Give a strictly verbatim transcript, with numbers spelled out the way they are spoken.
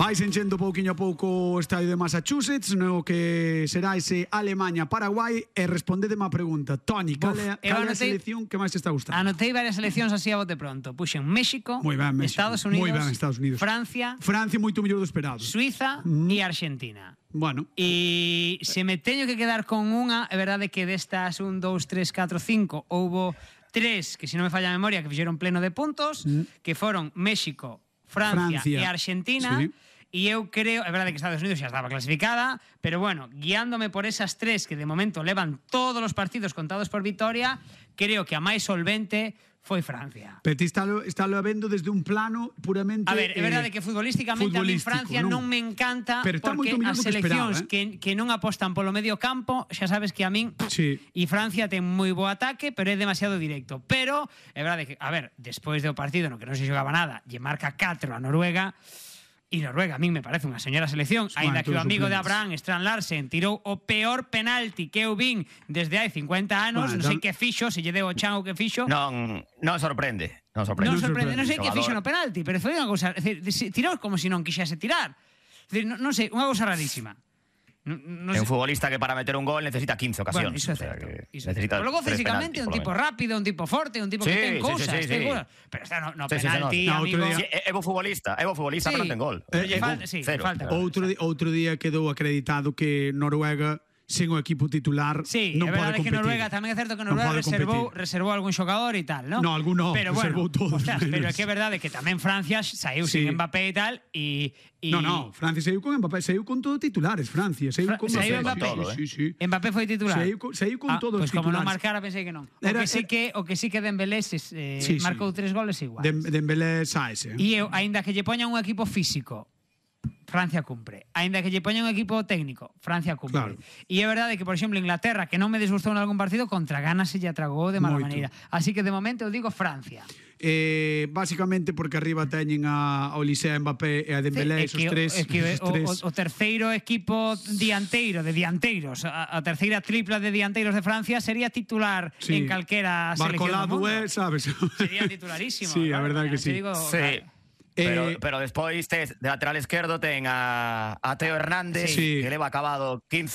Vais enchendo pouquiño a pouco o estadio de Massachusetts, no que será ese Alemanha-Paraguai, e respondedeme a pregunta. Toni, cal é, cal é a selección que máis te está gustando? Anotei varias seleccións así a bote pronto. Puxen México, Muy ben, México. Estados Unidos, Muy ben, Estados Unidos. Francia, Francia moito mellor do esperado. Suiza Mm. e Argentina. Bueno. E se me teño que quedar con unha, é verdade que destas un, dous, tres, catro, cinco houbo tres que, se non me falla a memoria, que fixeron pleno de puntos, mm. que foron México, Francia, Francia e Argentina. Sí. E eu creo, é verdade que Estados Unidos xa estaba clasificada, pero bueno, guiándome por esas tres que de momento levan todos os partidos contados por vitoria, creo que a máis solvente foi Francia. Pero ti estalo, estalo vendo desde un plano puramente... A ver, é verdade eh, que futbolísticamente a mí Francia non, non me encanta, pero está porque moito as seleccións eh? que, que non apostan polo medio campo, xa sabes que a min sí. E Francia ten moi bo ataque, pero é demasiado directo. Pero é verdade que, a ver, despois do partido no que non se xogaba nada, lle marca catro a Noruega. E Noruega a min me parece unha señora selección, aínda que o amigo de Abraham, Strand Larsen, tirou o peor penalti que eu vin desde hai cincuenta anos, non sei que fixo, se lle deu o chan ou que fixo. Non, non sorprende, non sorprende. Non sorprende, non sei que Xogador. fixo no penalti, pero foi unha cousa, é dicir, tirou como se non quixese tirar. É dicir, non, non sei, unha cousa rarísima. No, no é un sé. futbolista que para meter un gol necesita quince ocasións. Bueno, iso é certo. O sea, Iso necesita pero logo tres físicamente é un penaltis, tipo rápido, un tipo forte, un tipo que Sí, ten sí, cousas, sí, sí, ten sí. cousas. Pero está no, no Sí, sí, penalti, sí, no. amigo. No, outro Sí, é bo futbolista, é bo futbolista, Sí. pero non ten gol. Pero Eh, lle falta, sí, Cero. falta gol. Outro, di, outro día quedou acreditado que Noruega sen o equipo titular Sí, non é pode verdade que competir. Noruega tamén é certo que Non Noruega pode reservou, competir. reservou algún xogador e tal, ¿no? No, algún no, pero bueno, reservou todos ostras, menos. pero é que é verdade que tamén Francia saiu Sí. sin Mbappé e tal e e No, no, Francia saiu con Mbappé, saiu con todos titulares, Francia, saiu Fra con saiu Mbappé. Mbappé. Todo, eh. Sí, sí. Mbappé foi titular. Saiu con, saiu con Ah, todos pues os como non titulares. marcara pensei que non. O Era- que sí que o que sí que Dembélé eh, Sí, sí. marcou tres goles igual. Dem- Dembélé saese. E eu, aínda que lle poñan un equipo físico, Francia cumpre. Aínda que lle poñan un equipo técnico, Francia cumpre. Claro. E é verdade que, por exemplo, Inglaterra, que non me desgustou en algún partido, contra Ghana se lle atragou de mala Moito. maneira. Así que de momento eu digo Francia. Eh, básicamente porque arriba teñen a Olise, a Mbappé e a Dembélé, É esos que o- tres, é que esos o, tres. o, o terceiro equipo dianteiro de dianteiros, a, a terceira tripla de dianteiros de Francia sería titular Sí. en calquera selección do Barcolado mundo. é, sabes? Sería titularísimo. Sí, a claro, verdade que te sí. Digo, Sí. claro. Pero, Eh, pero despois tes, de lateral esquerdo ten a, a Teo Hernández, Sí. que leva acabado quince